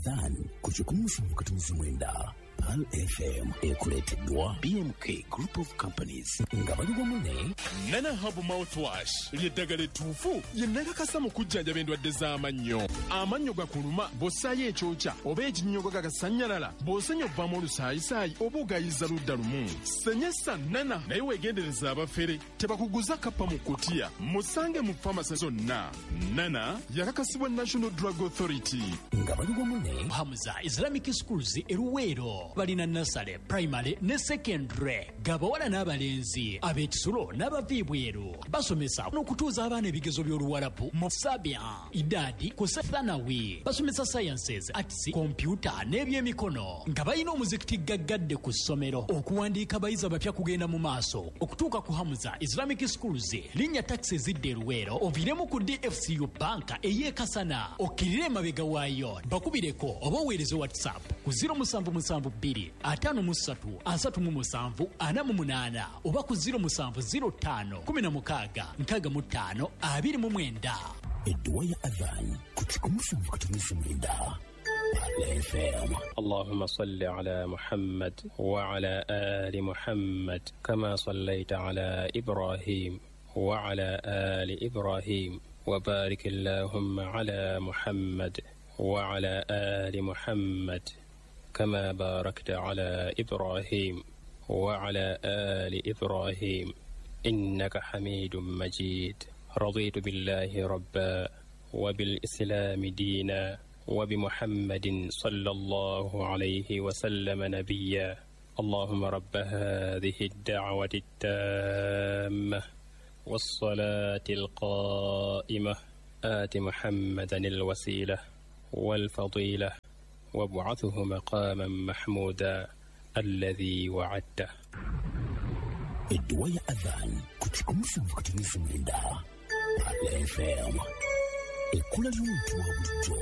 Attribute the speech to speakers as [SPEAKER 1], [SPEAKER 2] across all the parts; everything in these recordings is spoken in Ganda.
[SPEAKER 1] Adhan ku 179 Pearl FM ekuleeteddwa BMK Group of Companies nga bali wamu ne
[SPEAKER 2] Nana Herb Mouthwash ly'eddagala ettuufu ye nakakasa mu kujjanjaba endwadde z'amannyo. Amannyo gakuluma bw'ossaayo ekyokya oba ekinnyogo gagasannyalala, bw'osenya ovaamu olusaayisaayi oba ogayiza ludda lumu. Senyesa Nana naye weegendereza abafere tebakuguza kappa mu kutiya. Musange mu famasi zonna. Nana yakakasibwa National Drug Authority.
[SPEAKER 1] Nga bali wamu ne
[SPEAKER 3] Hamza Islamic Schools e Luweero balina nursery, primary ne secondary gabawala n'abalenzi ab'ekisulo n'abava ebweru. Basomesa n'okutuuza abaana ebigezo by'Oluwarabu mu Sabia, Idadi ku Thanawi. Basomesa sciences, arts, computer n'ebyemikono nga balina omuzikiti gaggadde ku ssomero. Okuwandiika abayizi abapya kugenda mu maaso okutuuka ku Hamza Islamic Schools. Linnya takisi ezidda e Luweero oviiremu ku DFCU banka ey'e Kasana okkirire emabega waayo. Bakubireko oba oweereze WhatsApp ku 0772 53 37 48 oba ku 0705 16 65 29.
[SPEAKER 1] Edduwa ya Adhan ku 179 Pearl FM.
[SPEAKER 4] اللهم صل على محمد وعلى آل محمد كما صليت على إبراهيم وعلى آل إبراهيم، وبارك اللهم على محمد وعلى آل محمد كما باركت على إبراهيم وعلى آل إبراهيم، إنك حميد مجيد. رضيت بالله ربا، وبالإسلام دينا، وبمحمد صلى الله عليه وسلم نبيا. اللهم رب هذه الدعوة التامة والصلاة القائمة، آت محمدا الوسيلة والفضيلة، وابعثه مقاما محمودا الذي وعدته.
[SPEAKER 1] Edduwa ya Adhan ku 179 Pearl FM, ekkula ly'omuntu wa bulijjo.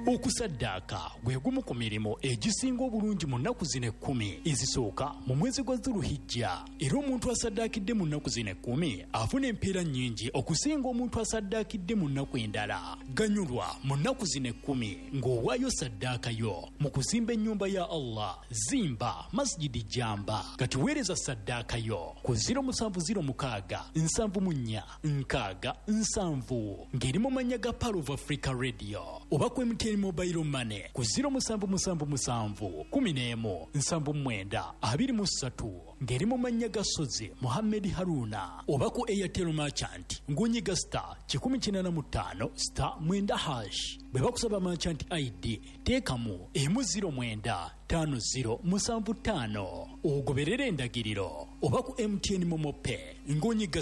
[SPEAKER 3] Okusaddaaka gwe gumu ku mirimu egisinga obulungi mu nnaku zino 10 ezisooka mu mwezi gwa Zuluhijja, era omuntu asaddaakidde mu nnaku zino 10 afuna empeera nnyingi okusinga omuntu asaddaakidde mu nnaku endala. Ganyulwa mu nnaku zino 10 ng'owaayo saddaaka yo mu kuzimba ennyumba ya Allah. Zimba Masjidi Jamba. Kati weereza saddaaka yo ku 0706 74 60 70 ng'eri mu mannya ga Pearl of Africa Radio oba ku MTN Mobile Money ku 0777 11 79 23 ng'eri mu mannya ga Sozi Muhammed Haruna oba ku Airtel Merchant ng'onyiga *185*9#. Bwe bakusaba merchant ID, teekamu 109 5075 ogoberere endagiriro oba ku MTN MoMo Pay ng'onyiga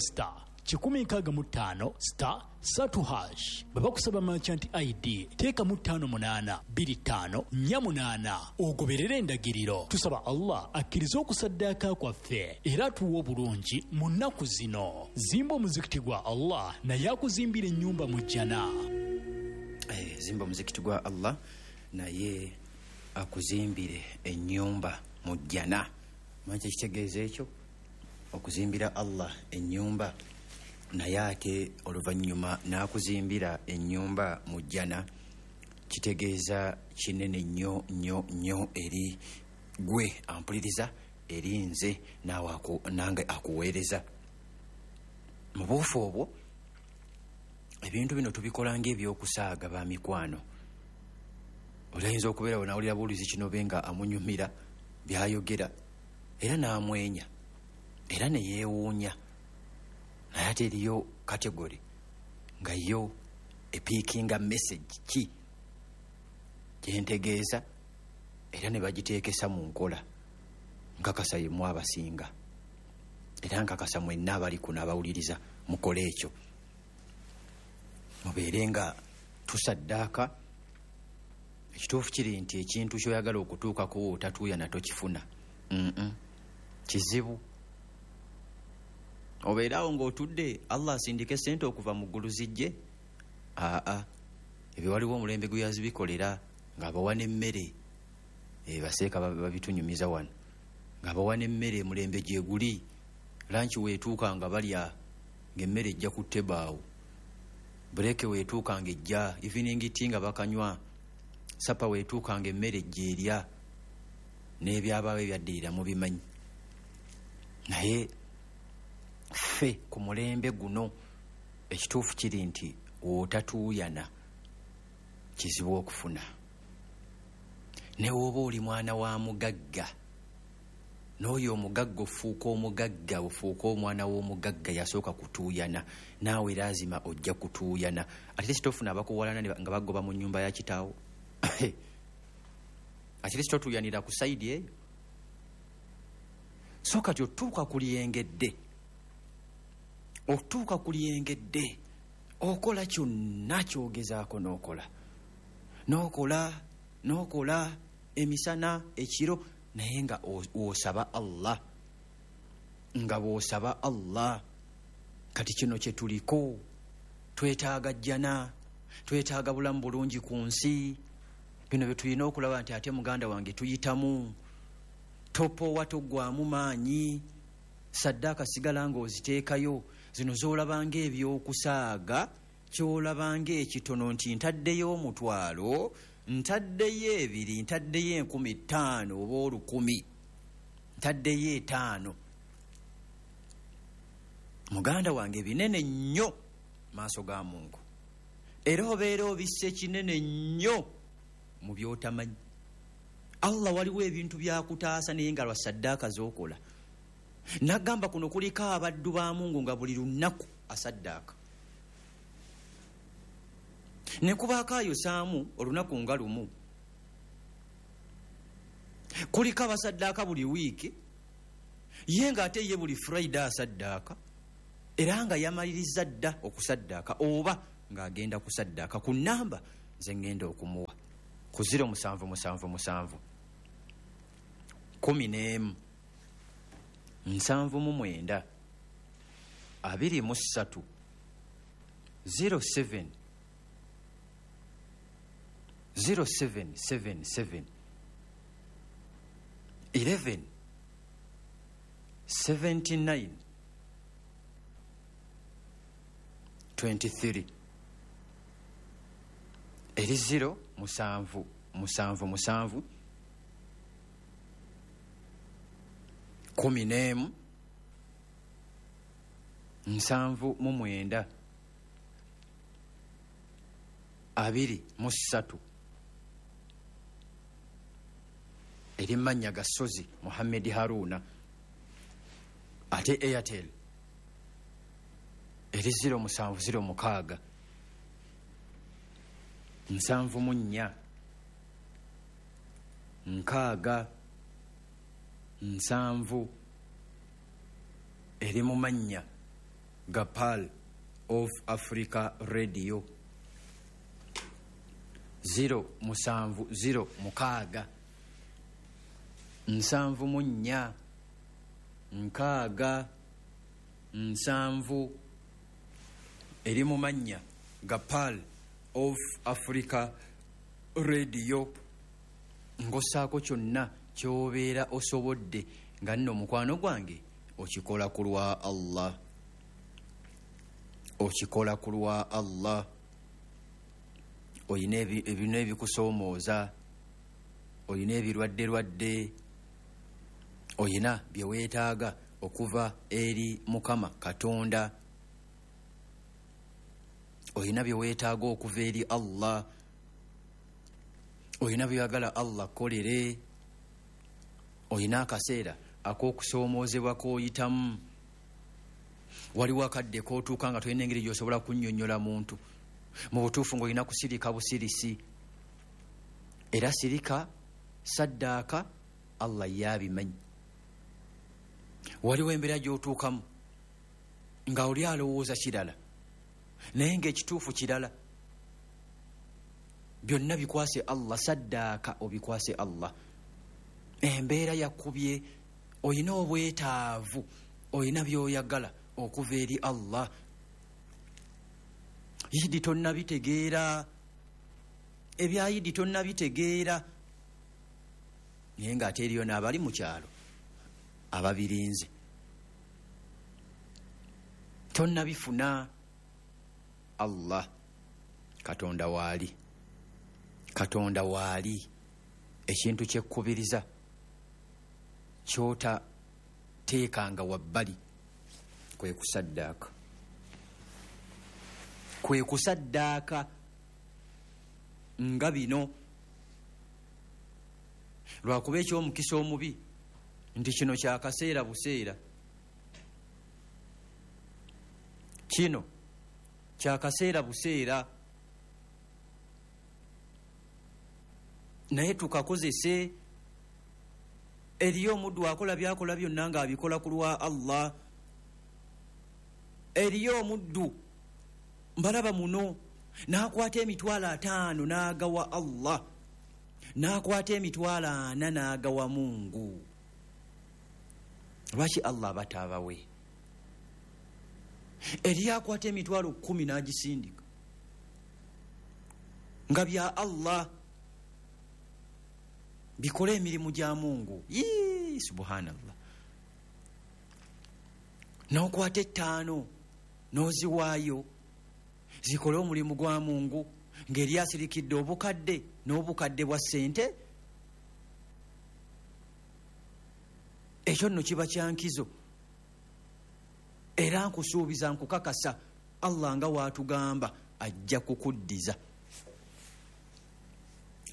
[SPEAKER 3] *165*3#. Bwe bakusaba merchant ID, teekamu 58 25 48 ogoberere endagiriro. Tusaba Allah akkirize okusaddaaka kwaffe era atuwe obulungi mu nnaku zino. Zimba omuzikiti gwa Allah naye akuzimbira ennyumba mu jjana.
[SPEAKER 5] Zimba omuzikiti gwa Allah naye akuzimbire ennyumba mu jjana. Manyi kyekitegeeza ekyo, okuzimbira Allah ennyumba naye ate oluvannyuma n'akuzimbira ennyumba mu jjana, kitegeeza kinene nnyo nnyo nnyo eri gwe ampuliriza, eri nze naawe nange akuweereza. Mu buufu obwo ebintu bino tubikola ng'ebyokusaaga. Ba mikwano, olayinza okubeera wenawulira buulizi kino be nga amunyumira byayogera era n'amwenya era ne yeewuunya, naye ate eriyo category nga yo epickinga message ki gyentegeeza era ne bagiteekesa mu nkola. Nkakasa yemu abasinga, era nkakasa mwenna abali kuno abawuliriza mukole ekyo, mubeere nga tusaddaaka. Ekituufu kiri nti ekintu kyoyagala okutuukako otatuuya natokifuna. Kizibu obeerawo ng'otudde Allah asindike sente okuva mu ggulu zijje. Aa, ebyo waliwo omulembe gwe yazibikolera ng'abawa n'emmere. Baseeka babitunyumiza wano ng'abawa n'emmere. Mulembe gye guli, lunch weetuuka nga balya ng'emmere ejja ku table awo, break weetuuka ng'ejja, evening tea nga bakanywa. Sapa weetuukanga emmere gyerya n'ebyabaawo ebyaddirira mubimanyi. Naye ffe ku mulembe guno ekituufu kiri nti w'otatuuyana kizibu okufuna. Ne w'oba oli mwana wa mugagga, n'oyo omugagga ofuuka omugagga, ofuuka omwana w'omugagga yasooka kutuuyana, naawe laazima ojja kutuuyana. Ate sitofuna abakuwalana nga bagoba mu nnyumba ya kitaawo. Ate sitotuuyanira ku sayidi eyo. So kati otuuka ku lyengedde, otuuka ku lyengedde, okola kyonna kyogezaako n'okola, n'okola, n'okola emisana ekiro, naye nga osaba Allah, nga bw'osaba Allah. Kati kino kye tuliko, twetaaga jjana, twetaaga bulamu bulungi ku nsi. Bino bye tulina okulaba nti ate muganda wange tuyitamu. Topowa, toggwamu maanyi, saddaaka sigala ng'oziteekayo. Zino z'olabanga ebyokusaaga, ky'olabanga ekitono nti ntaddeyo 5,000, ntaddeyo 2, ntaddeyo 5,000 oba 1,000, ntaddeyo 5. Muganda wange binene nnyo maaso ga Mungu, era obeera obisse kinene nnyo mu by'otamanyi. Allah waliwo ebintu byakutaasa naye nga lwa saddaaka z'okola. Nagamba kuno kuliko abaddu ba Mungu nga buli lunaku asaddaaka, ne kubaako ayosaamu olunaku nga lumu. Kuliko abasaddaaka buli wiiki, ye ng'ate ye buli Friday asaddaaka, era nga yamaliriza dda okusaddaaka oba ng'agenda kusaddaaka ku nnamba ze ŋŋenda okumuwa ku 0777 11 79 23 07 0777 11 79 23 eri 0 7 7 7 11 79 23 eri mannya ga Ssozi Muhammad Haruna. Ate Airtel eri 0706 74 6 7 eri mu mannya ga Pearl of Africa Radio 0 7 0 6 74 6 7 eri mu mannya ga Pearl of Africa Radio. Ng'ossaako kyonna ky'obeera osobodde nga nno mukwano gwange okikola ku lwa Allah, okikola ku lwa Allah. Oyina ebintu ebikusoomooza, oyina ebirwadde-lwadde, oyina bye weetaaga okuva eri Mukama Katonda, oyina bye weetaaga okuva eri Allah, oyina by'oyagala Allah kolere, oyina akaseera ak'okusoomoozebwa k'oyitamu. Waliwo akadde k'otuuka nga tolina engeri gy'osobola kunnyonnyola muntu mu butuufu, ng'olina kusirika busirisi. Era sirika, saddaaka, Allah y'abimanyi. Waliwo embeera gy'otuukamu nga oli alowooza kirala naye ng'ekituufu kirala. Byonna bikwase Allah, saddaaka obikwase Allah. Embeera yakubye, oyina obwetaavu, oyina by'oyagala okuva eri Allah. Yidi tonnabitegeera, ebya yidi tonnabitegeera, naye ng'ate eriyo n'abali mu kyalo ababirinze. Tonnabifuna. Allah Katonda waali, Katonda waali. Ekintu kyekkubiriza kyotateekanga wabbali kwe kusaddaaka, kwe kusaddaaka nga bino. Lwakuba ekyomukisa omubi nti kino kyakaseera buseera, kino kyakaseera buseera, naye tukakozese. Eriyo omuddu akola byakola byonna ng'abikola ku lwa Allah. Eriyo omuddu mbalaba muno n'akwata 50,000 n'agawa Allah, n'akwata 40,000 n'agawa Mungu. Lwaki Allah abataabawe? Eriyo akwata 10,000 n'agisindika nga bya Allah, bikole emirimu gya Mungu. Yii, subhanallah. N'okwata 5 n'oziwaayo zikole omulimu gwa Mungu, ng'eri asirikidde obukadde n'obukadde bwa ssente. Ekyo nno kiba kyankizo, era nkusuubiza, nkukakasa, Allah nga waatugamba ajja kukuddiza,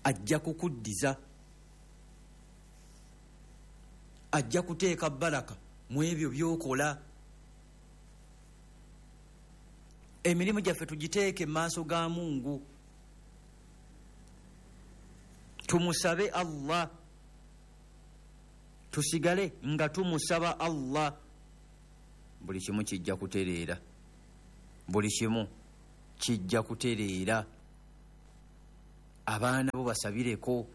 [SPEAKER 5] ajja kukuddiza, ajja kuteeka baraka mu ebyo by'okola. Emirimu gyaffe tugiteeke mu maaso ga Mungu, tumusabe Allah, tusigale nga tumusaba Allah. Buli kimu kijja kutereera, buli kimu kijja kutereera. Abaana bo basabireko,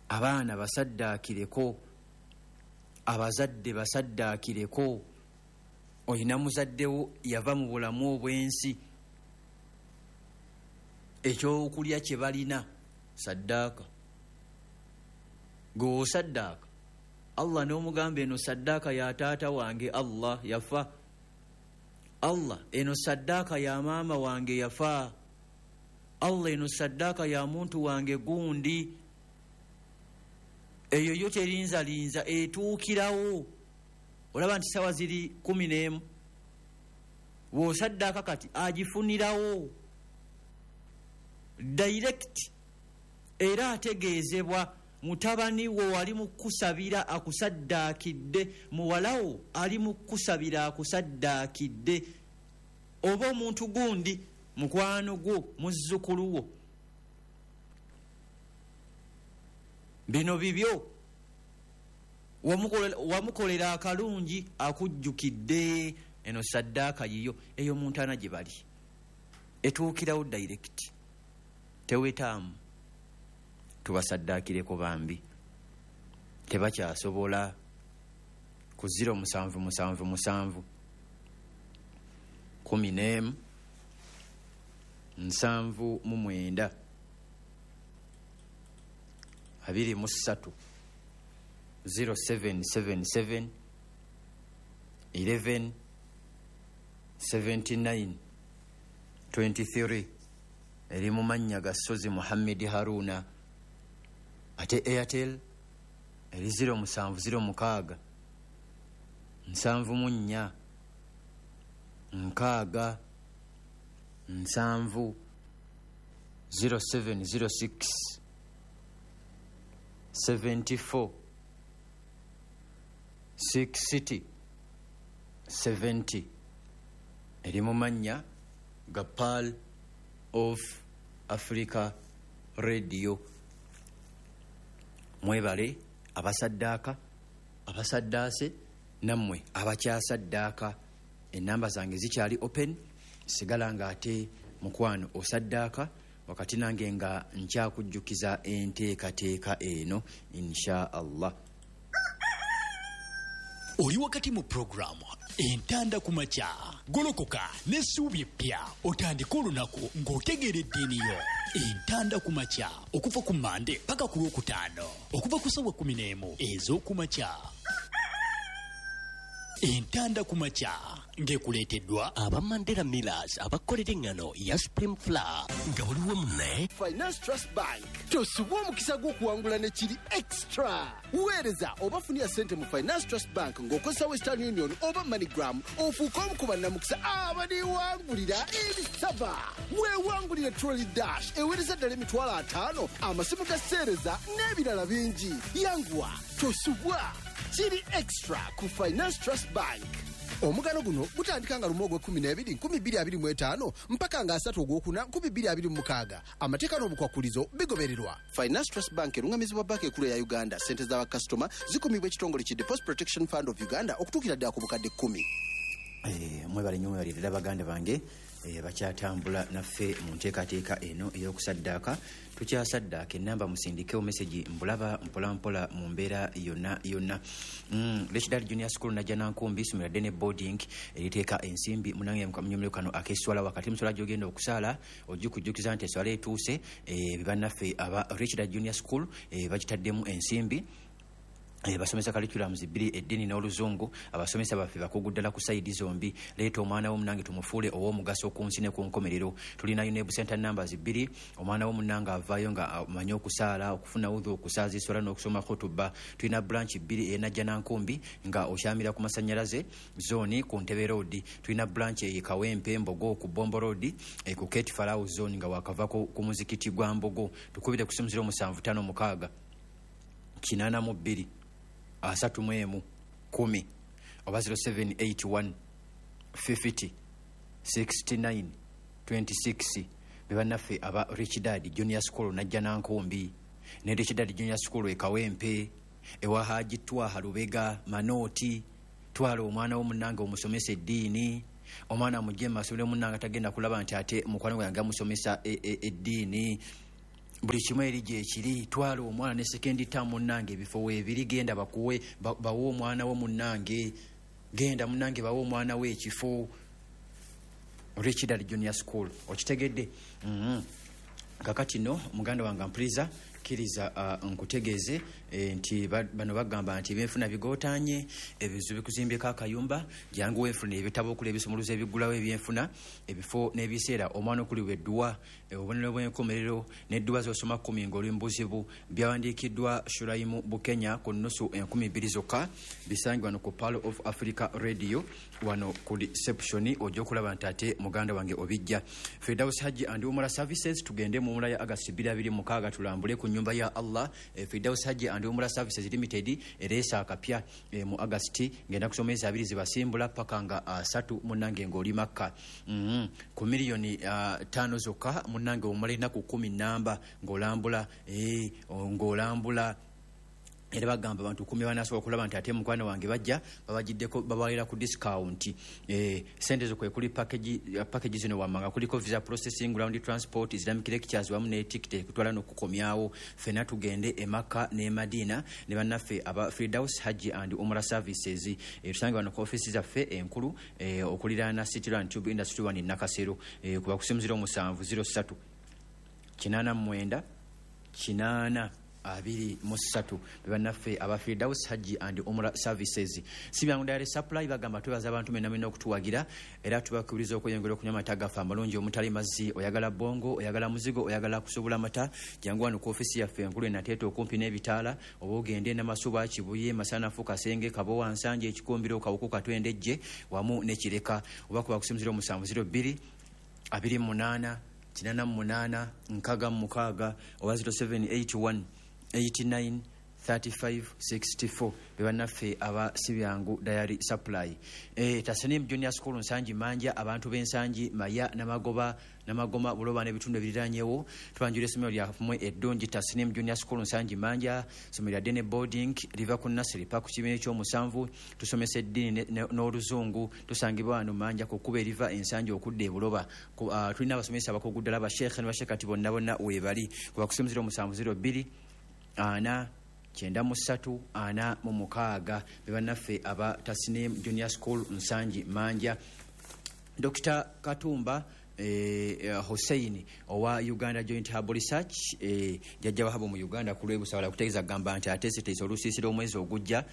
[SPEAKER 5] abaana basaddaakireko, abazadde basaddaakireko. Olina muzaddewo yava mu bulamu obw'ensi, ekyokulya kye balina saddaaka. Gwe osaddaaka Allah n'omugamba, eno saddaaka ya taata wange Allah yafa, Allah eno saddaaka ya maama wange yafa, Allah eno saddaaka ya muntu wange gundi. Eyo yo terinzalinza, etuukirawo. Olaba nti sawa ziri 11, w'osaddaaka kati agifunirawo direct, era ategeezebwa mutabani wo ali mu kusabira akusaddaakidde, muwalawo ali mu kusabira akusaddaakidde, oba omuntu gundi mukwano gwo, muzzukulu wo. Bino bibyo, wamukolera akalungi akujjukidde, eno saddaaka yiyo. Eyo muntaana gye bali etuukirawo direct, tewetaamu. Tubasaddaakireko bambi, tebakyasobola. Ku 0777 11 79 23, 0777 11 79 23, eri mu mannya ga Ssozi Muhammad Haruna. Ate Airtel eri 0706 74 6 7, 0706 74 60 70, eri mu mannya ga Pearl of Africa Radio. Mwebale abasaddaaka, abasaddaase, nammwe abakyasaddaaka. Enamba zange zikyali open, sigala nga ate mukwano osaddaaka wakati nange nga nkyakujjukiza enteekateeka eno insha Allah.
[SPEAKER 3] Oli wakati mu puroguramu Entanda ku makya, golokoka n'essuubi eppya, otandike olunaku ng'otegeera eddiini yo. Entanda ku makya okuva ku Mande paka ku Lwokutaano, okuva ku ssaawa 11 ez'okumakya. Entanda ku makya. Ng'ekuleeteddwa
[SPEAKER 1] aba Mandela Millers abakolera eŋŋano ya Supreme Flour nga buli wamu ne
[SPEAKER 6] Finance Trust Bank. Tosubwa omukisa gw'okuwangula ne kiri extra. Weereza oba funira ssente mu Finance Trust Bank ng'okozesa Western Union oba MoneyGram, ofuuke omu ku bannamukisa abaliwangulira ebisaba. Weewangulire Trolley Dash eweereza ddala 50,000, amasimu ga seereza n'ebirala bingi. Yanguwa, tosubwa, kiri extra ku Finance Trust Bank. Omugano guno gutandika nga 1 ogw'e12 2025 mpaka nga 3 ogwokuna 2026. Amateeka n'obukwakulizo bigobererwa. Finance Trust Bank erungamizibwa banka enkulu eya Uganda. Ssente za bakasitoma zikumibwa ekitongole ki Deposit Protection Fund of Uganda okutuukira ddala ku bukadde 10.
[SPEAKER 5] Mwebale nnyo, mwebalire ddala baganda bange bakyatambula naffe mu nteekateeka eno ey'okusaddaaka. Tukyasaddaaka, enamba musindikewo message, mbulaba mpolampola mu mbeera yonna yonna. Lekidal Junior School Najjanankumbi, isomero ddene boarding eriteeka ensimbi munange munyumiro kano ak'esswala. Wakati muswala gy'ogenda okusaala ojjukujjukiza nti esswala etuuse. Bannaffe aba Richard Junior School bagitaddemu ensimbi. Basomesa curriculums bbiri, eddiini n'Oluzungu. Abasomesa baffe bakugu ddala ku side zombi. Leeta omwana wo munange tumufuule ow'omugaso ku nsi ne ku nkomerero. Tulina UNEB center numbers bbiri. Omwana wo munange avaayo nga amanyi okusaala, okufuna wudhu, okusaaza eswala n'okusoma khutuba. Tulina branch bbiri, eyenajjanankumbi nga okyamira ku masanyalaze zone ku Ntebe Road. Tulina branch eye Kawempe Mbogo ku Bombo Road, ku Kate Farao zone nga wakava ku muzikiti gwa Mbogo. Tukubire ku simu 0756 82 31 10 oba 0781 50 69 26. Bebannaffe aba Rich Dad Junior School Najjanankumbi ne Rich Dad Junior School e Kawempe ewa Haji Twaha Lubega Manooti. Twala omwana wo munnange omusomesa eddiini. Omwana mujje mu masomero munnange, tagenda kulaba nti ate mukwano gwange amusomesa eddiini. Buli kimu eri gyekiri. Twala omwana ne second term munnange, ebifo weebiri. Genda bakuwe, bawe omwana wo munnange. Genda munnange bawe omwana we ekifo. Richard Junior School, okitegedde? Kakati no muganda wange mpuliriza, kkiriza nkutegeeze nti bano bagamba nti ebyenfuna bigootanye, ebizibu bikuzimbyeko akayumba. Jangu weefuna ebitabo okuli ebisumuluzo ebiggulawo ebyenfuna, ebifo n'ebiseera omwana okuliwa edduwa, obubonero bw'enkomerero n'edduwa z'osoma 10 ng'oli mu buzibu. Byawandiikiddwa Shuraimu Bukenya ku nnusu 2,000 zokka. Bisangibwa wano ku Pearl of Africa Radio, wano ku reception. Ojja okulaba nti ate muganda wange obijja. Firdaus Hajji and Umrah Services, tugende mu umura ya August 2026 tulambule ku nyumba ya Allah. Firdaus Hajji and Umrah Services Limited ereesa akapya mu August, ngenda kusoma ezi 2 zibasimbula paka nga 3 munnange ng'oli Makka. Ku miliyoni 5 zokka munnange omala ennaku 10 namba ng'olambula, ng'olambula. Era bagamba abantu 10 banasobola okulaba nti ate mukwano wange bajja babagiddeko, babalira ku discount. Sente zo kwe kuli package zino wammanga kuliko visa processing, ground transport, Islamic lectures wamu ne ticket ekutwala n'okukomyawo. Ffenna tugende e Makka ne Madina ne bannaffe aba Firdaus Hajji and Umrah Services. Tusange wano ku ofisi zaffe enkulu okuliraana City Run Tube Industry 1 Nakasero, kuba ku simu 07 03 89 8 23. Bebannaffe aba Firdaus Hajji and Umrah Services. Si byangu Dairy Supply bagamba twebaza abantu mwenna mwenna okutuwagira, era tubakubiriza okweyongera okunywa amata gaffe amalungi omutali mazzi. Oyagala bongo, oyagala muzigo, oyagala kusobola mata, jangu wano ku ofisi yaffe enkulu enateeta okumpi n'ebitaala, oba ogende Namasuba, Kibuye, Masanafu, Kasenge, Kabowa, Nsanje, Ekikumbiro, Kawuku, Katwendejje wamu ne Kireka, oba kuba ku simu 0702 28 88 66 oba 0781 89 35 64. Bebannaffe aba Sibyangu Dairy Supply. Tasanim Junior School Nsangi Manja, abantu b'Ensangi, Maya, Namagoba, Namagoma, Buloba n'ebitundu ebiriranyewo, tubanjula essomero lyammwe eddungi Tasnim Junior School Nsangi Manja. Essomero lya Dene boarding, liva ku nursery paka ku kibiina ekyomusanvu. Tusomesa eddiini n'Oluzungu. Tusangibwa wano Manja ku kkubo eriva Ensangi okudda e Buloba. Tulina abasomesa abakugu ddala, basheekhe ne basheekati bonna bonna weebali. Kuba ku simu 0702 4 93 46. Bebannaffe aba Tasnim Junior School Nsangi Manja. Dr Katumba Hussein owa Uganda Joint Herbal Research, jjajja wahabo mu Uganda ku lw'ebusabala kutegeeza kugamba nti ateeseteese olusiisira omwezi ogujja,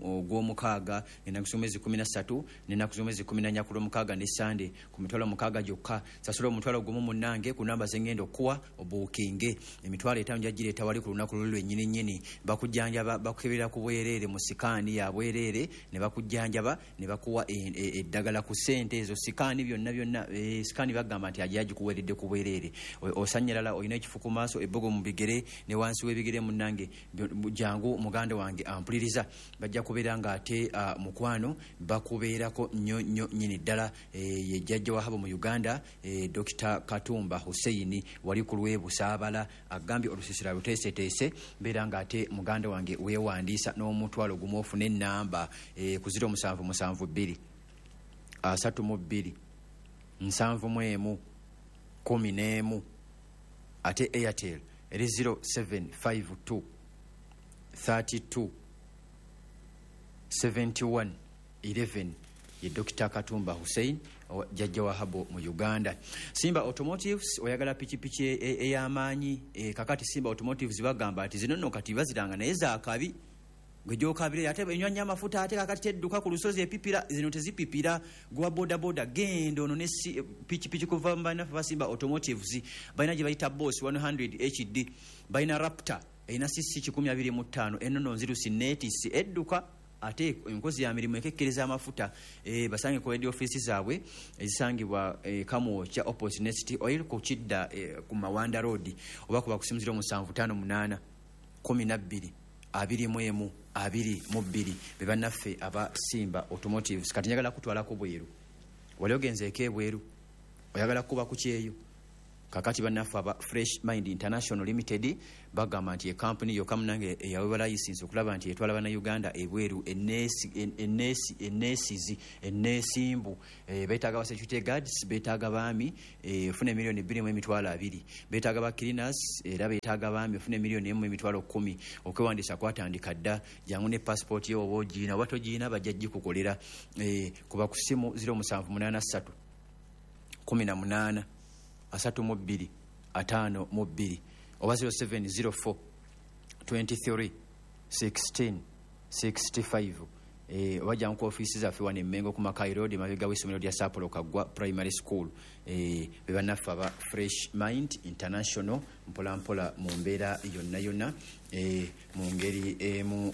[SPEAKER 5] ogw'omukaaga, ennaku z'omwezi 13 n'ennaku z'omwezi 14 ku lw'omukaaga ne Sande, ku mitwalo 6 gyokka. Sasula omutwalo gumu munnange ku namba z'engenda okuwa obuukinge. 50,000 njagireeta wali ku lunaku luli lwennyini nnyini. Bakujjanjaba, bakukebera ku bwereere mu sikaani ya bwereere, ne bakujjanjaba ne bakuwa eddagala ku ssente ezo. Sikaani byonna byonna, sikaani bagamba nti ajja agikuweeredde ku bwereere. Osanyalala, olina ekifu ku maaso, ebbogo mu bigere ne wansi w'ebigere, munnange jangu muganda wange ampuliriza, bajja kubeera ng'ate mukwano bakubeerako nnyo nnyo nnyini ddala. Ye jjajja wahabo mu Uganda, Dr. Katumba Hussein wali ku lw'ebusaabala, agambye olusiisira luteeseteese. Mbeera ng'ate muganda wange weewandiisa n'omutwalo gumu ofune ennamba ku 0772 32 71 11. Ate Airtel eri 0752 32 71 11, ye Dr. Katumba Hussein, jjajja wahabo mu Uganda. Simba Automotives, oyagala pikipiki ey'amaanyi? Kakati Simba Automotives bagamba nti zino nno kati baziranga naye zaakabi, gwe gyokabire ate enywa nnyo amafuta, ate kakati tedduka ku lusozi epipira. Zino tezipipira. Gwa bodaboda genda ono ne pikipiki kuva mu bannaffe ba Simba Automotives. Balina gye bayita Boss 100 HD, balina Raptor erina cc 125, enono nzirusi neetisi, edduka ate enkozi ya mirimu, ekekkereza amafuta. Basange ku head office zaabwe ezisangibwa Kamwokya opposite Next Oil ku kidda ku Mawanda Road, oba kuba ku simu 0758 12 21 22. Be bannaffe aba Simba Automotives. Kati njagala kutwalako bweru. Wali ogenzeeko ebweru? Oyagala kuba ku kyeyo? Kakati bannaffe aba Fresh Mind International Limited bagamba nti ekampuni yokka munange eyaweebwa layisinsi okulaba nti etwala bannayuganda ebweru eneesizi eneesimbu. Beetaaga ba security guards, beetaaga baami, ofuna 2,020,000. Beetaaga ba cleaners, era beetaaga baami, ofuna 1,110,000. Okwewandiisa kwatandika dda. Jangu ne passport yo, oba ogiina oba togiina, bajja gikukolera. Kuba ku simu 0783 18 32 52 oba 0704 23 16 65. Oba jangu ku ofiisi zaffe wano Emmengo ku Makai Road, emabega w'essomero lya Saapolo Kaggwa Primary School. Be bannaffe aba Fresh Mind International. Mpolampola mu mbeera yonna yonna, mu ngeri emu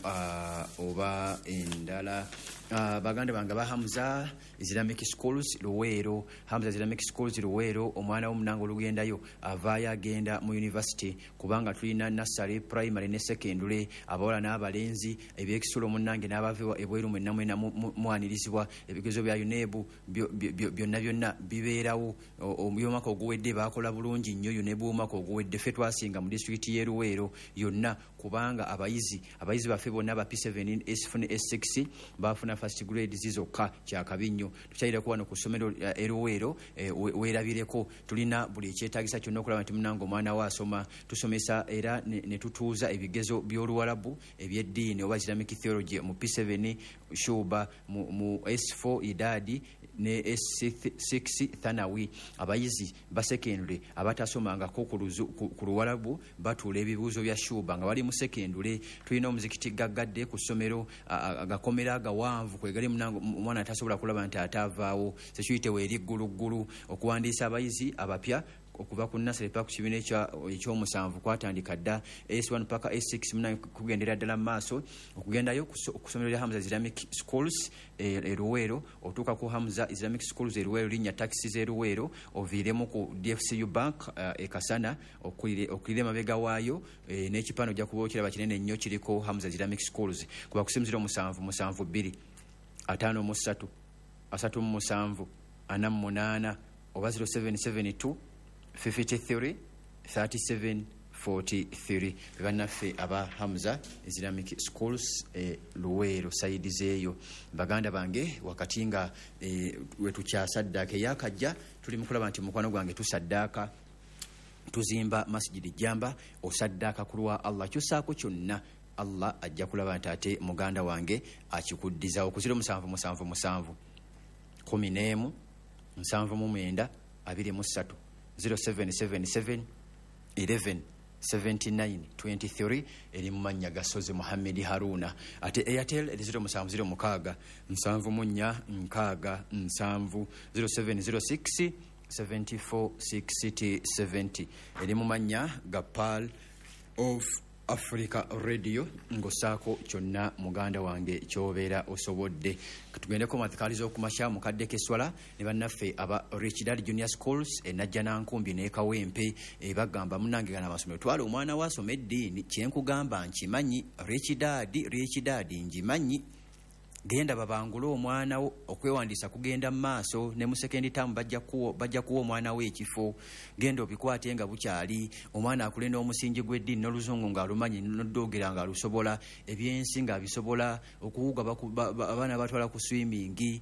[SPEAKER 5] oba endala. Baganda bange ba Hamza Islamic Schools Luweero, Hamza Islamic Schools Luweero, omwana womunange olugendayo avaayo agenda mu university, kubanga tulina nursery, primary ne secondary, abawala n'abalenzi, ebyekisulo munnange n'abava ebweru mwenna mwena mwanirizibwa. Ebigezo bya UNEB byonna byonna bibeerawo. Omwaka oguwedde bakola bulungi nnyo. UNEB omwaka oguwedde ffe twasinga mu disitulikiti y'e Luweero yonna, kubanga abayizi baffe bonna ba P7, S4 ne S6 bafuna first grade zokka. Kyakabi nnyo. Tukyayireko wano ku ssomero e Luweero, weerabireko. Tulina buli ekyetaagisa kyonna okulaba nti munange omwana we asoma. Tusomesa era ne tutuuza ebigezo by'Oluwalabu ebyeddiini oba Islamic theology mu P7 Shuba, mu S4 Idadi ne S6 Thanawi. Abayizi ba secondary abatasomangako ku Luwalabu batuula ebibuuzo bya Shuba nga bali mu secondary. Tulina omuzikiti gaggadde ku ssomero, agakomera agawanvu kwegali munange omwana tasobola kulaba nti ate avaawo. Security weeri gguluggulu. Okuwandiisa abayizi abapya okuva ku nursery paka ku kibiina ekyomusanvu kwatandika dda, S1 paka S6 munange kugendera ddala mu maaso. Okugendayo ku ssomero lya Hamza Islamic Schools e Luweero, otuuka ku Hamza Islamic Schools e Luweero, linnya takisi z'e Luweero, oviiremu ku DFCU Bank e Kasana, okulire emabega waayo, n'ekipande ojja kuba okiraba kinene nnyo kiriko Hamza Islamic Schools. Kuba ku simu 0772 53 37 48 oba 0772 53 37 43. Bannaffe aba Hamza Islamic Schools e Luweero side zeeyo. Baganda bange, wakati nga wetukyasaddaaka eyakajja, tuli mukulaba nti mukwano gwange tusaddaaka, tuzimba Masjidi Jamba. Osaddaaka ku lwa Allah, kyosaako kyonna Allah ajja kulaba nti ate muganda wange akikuddizawo. Ku 0777 11 79. 23, 0777 11 79 23, eri mu mannya ga Sozi Muhammedi Haruna. Ate Airtel eri 0706 74 67, 0706 74 60 70, eri mu mannya ga Pearl of Africa Radio. Ng'ossaako kyonna muganda wange kyobeera osobodde. Tugendeko mu adhikaari z'okumakya mukadde k'esswala ne bannaffe aba Rich Dad Junior Schools e Najjanankumbi n'e Kawempe. Bagamba munnange gana amasomero, twala omwana wo asome eddiini. Kyenkugamba nkimanyi, Rich Dad, Rich Dad ngimanyi. Genda babangule omwana wo, okwewandiisa kugenda mu maaso ne mu second term bajja kuwa omwana wo ekifo. Genda obikwate nga bukyali, omwana akule n'omusingi gw'eddiini n'oluzungu ng'alumanyi, n'oddogera ng'alusobola, ebyensi ng'abisobola, okuwuga abaana batwala ku swimming.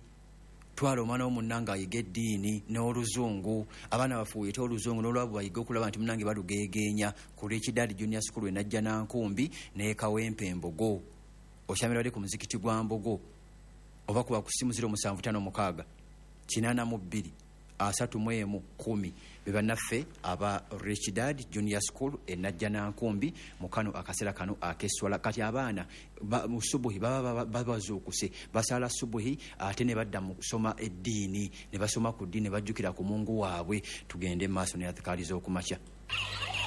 [SPEAKER 5] Twala omwana wo munnange ayiga eddiini n'oluzungu, abaana bafuuyite oluzungu n'olwabwe bayiga okulaba nti munnange balugeegeenya ku Rich Dad Junior School e Najjanankumbi n'e Kawempe Mbogo. Okyamira wali ku muzikiti gwa Mbogo, oba kuba ku simu 0756 82 31 10. Be bannaffe aba Rich Dad Junior School e Najjanankumbi mu kano akaseera kano ak'esswala. Kati abaana mu subuhi baba bazuukuse, basaala subuhi ate ne badda mu kusoma eddiini, ne basoma ku ddiini, ne bajjukira ku Mungu waabwe. Tugende mu maaso ne adhikaari z'okumakya.